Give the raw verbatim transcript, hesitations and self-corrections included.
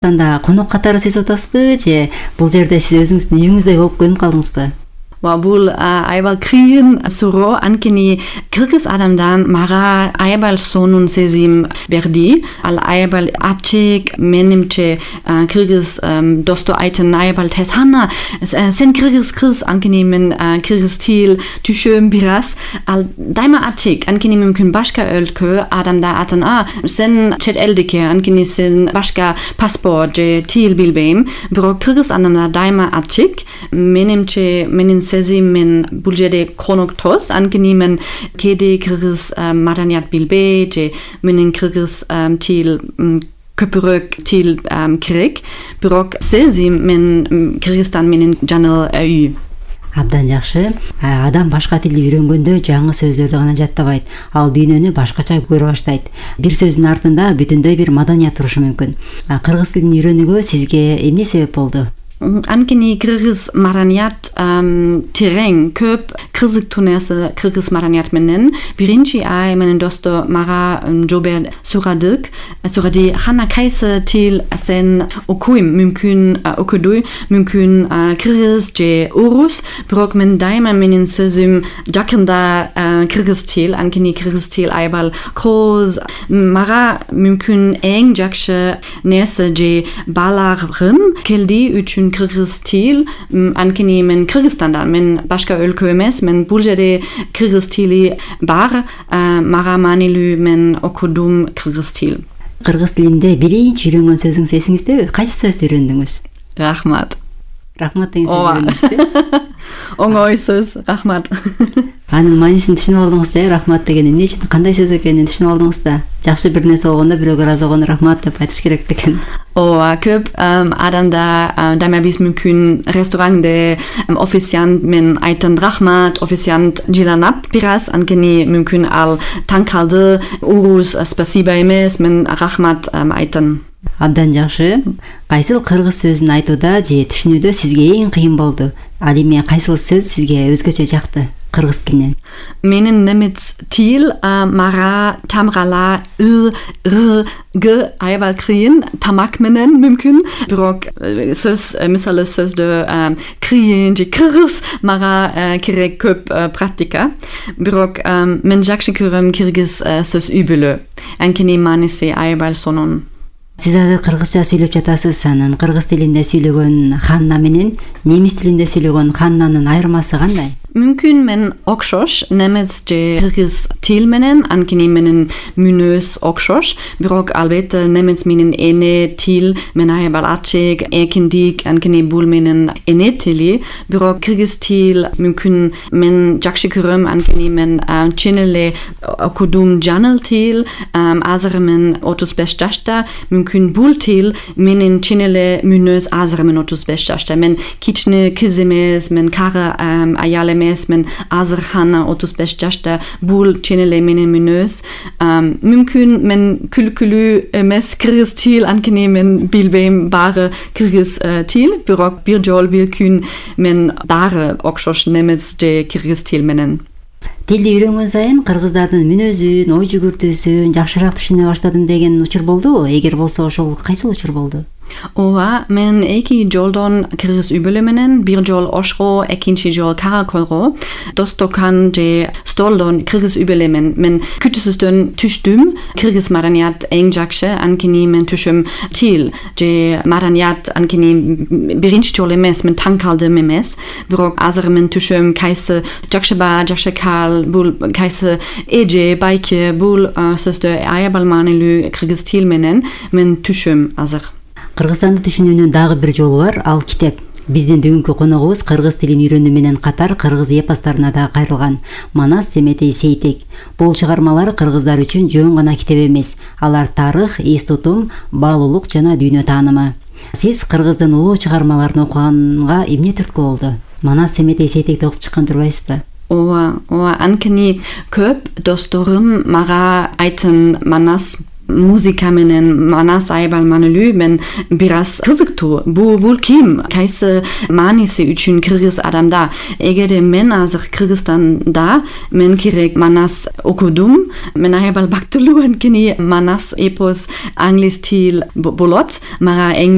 Анда конок катары сиз атасызбы же бул жерде сиз өзүңүздүн үйүңүздөй болуп көнүп калдыңызбы? Бул аябал кыйын суроо. Анткени кыргыз адамдан мага аябал сонун сезим берди. Ал аябал ачык, менимче кыргыз досто айтын аябал тез хана сен кыргыз кыз, анткени мен кыргыз тил түшөм бир аз. Ал дайыма ачык, анткени мүмкүн башка өлкө адамда атын а сен чет элдики, анткени сен башка паспорт же тил билбейм. Бирок кыргыз адамдар дайыма ачык. Менимче менин сезим мен бул жерде коноктос, анткени мен кээде кыргыз маданият билбей же менин кыргыз тил көпүрөөк тил керек. Бирок сезим мен Кыргызстан менин жаңы үй. Абдан жакшы. Адам башка тилди үйрөнгөндө жаңы сөздөрдү гана жаттабайт, ал дүйнөнү башкача көрө баштайт. Бир сөздүн артында бүтүндөй бир маданият турушу мүмкүн. Кыргыз тилин үйрөнүүгө сизге эмне себеп болду? Анткени кыргыз маданият терең, көп кызыктуу нерсе кыргыз маданият менен. Биринчи ай менин досто мага жобо сурадык. Суради хана кайсы тил сен окуйм, мүмкүн окудуй, мүмкүн кыргыз же орус. Бирок мен дайыма менин сөзүм жакында кыргыз тил, анткени кыргыз тил аябал кооз. Мага мүмкүн эң жакшы нерсе же баалагым келди үчүн кыргыз тил, анткени мен Кыргызстандан, мен башка өлкө эмес, мен бул жерде кыргыз тили бар, мага маанилүү, мен окудум кыргыз тил. Кыргыз тилинде биринчи үйрөнгөн сөзүңүз эсиңиздеби? Кайсы сөздү үйрөндүңүз? Рахмат. Рахмат деген сөз үйрөндүңүз. Оңой сөз, рахмат. Анын маанисин түшүнүп алдыңыз да, рахмат деген эмне үчүн, кандай сөз экенин түшүнүп алдыңыз да. Жакшы бир нерсе болгондо бирөөгө ыраазы болгондо рахмат деп айтыш керек бекен. Ооба, көп адамда дайыма биз мүмкүн ресторанде официант мен айтын рахмат, официант жыланап бир аз, анткени мүмкүн ал таң калды, урус спасибо эмес, мен рахмат айтын. Абдан жакшы. Кайсыл кыргыз сөзүн айтууда же түшүнүүдө сизге эң кыйын болду? Ал эми кайсыл сөз сизге өзгөчө жакты кыргыз тилинен? Менин немец тил мага тамгала ы, р, г аябал кыйын, тамак менен мүмкүн. Бирок сөз, мисалы сөздө кыйын же кыргыз мага керек көп практика. Бирок мен жакшы көрөм кыргыз сөз үй-бүлө. Анткени мааниси аябал сонун. Сиз азыр кыргызча сүйлөп жатасыз, анан кыргыз тилинде сүйлөгөн Ханна менен немис тилинде сүйлөгөн Ханнанын айырмасы кандай? Мүмкүн мен окшош, немец же кыргыз тил менен, анткени менин мүнөз окшош. Бирок албетте немец менин эне тил мен аябал ачык, эркиндик, анткени бул менин эне тили. Бирок кыргыз тил мүмкүн мен жакшы көрөм, анткени мен чын эле окудум жаңы тил, азыр мен отуз беш жашта. Мүмкүн бул тил менин чын эле мүнөз азыр мен отуз беш жашта. Мен кичине кыз эмес, мен кары аял эмес, мен азыр хана отуз беш жашта. Бул чын эле менин мүнөз. Мүмкүн мен күлкүлүү эмес кыргыз тил, анткени мен билбейм баары кыргыз тил, бирок бир жол бир күн мен баары окшош немец же кыргыз тил менен. Тилди үйрөнгөн сайын кыргыздардын мүнөзүн, ой жүгүртүүсүн жакшыраак түшүнө баштадым деген учур болдубу? Эгер болсо, ошол кайсыл учур болду? Ооба, мен эки жолдон кыргыз үй-бүлө менен, бир жол Ошко, экинчи жол Караколго, Достокан же Столдон кыргыз үй-бүлө менен мен күтүүсүздөн түштүм. Кыргыз маданият эң жакшы, анткени мен түшүм тил же маданият, анткени биринчи жол эмес, мен таң калдым эмес. Бирок азыр мен түшүм кайсы жакшы ба, жакшы кал, бул кайсы эже, байке, бул сөздө аябал маанилүү кыргыз тил менен мен түшүм азыр. Кыргызстанды түшүнүүнүн дагы бир жолу бар, ал китеп. Биздин бүгүнкү коногубуз кыргыз тилин үйрөнүү менен катар кыргыз эпосторуна да кайрылган Манас Семетей Сейтек. Бул чыгармалар кыргыздар үчүн жөн гана китеп эмес, алар тарых, эс тутум, баалуулук жана дүйнө таанымы. Сиз кыргыздын улуу чыгармаларын окуганга эмне түрткү болду? Манас Семетей Сейтекти окуп чыккан турбайсызбы? Ооба, ооба, анткени көп досторум мага айтын Манас музыка менен манас аябай маанилүү, мен бир аз кызыктуу. Бул бул ким? Кайсы мааниси үчүн кыргыз адамда? Эгерде мен азыр Кыргызстанда мен керек манас окудум, мен аябай бактылуу, анткени манас эпос англис тил болот. Мага эң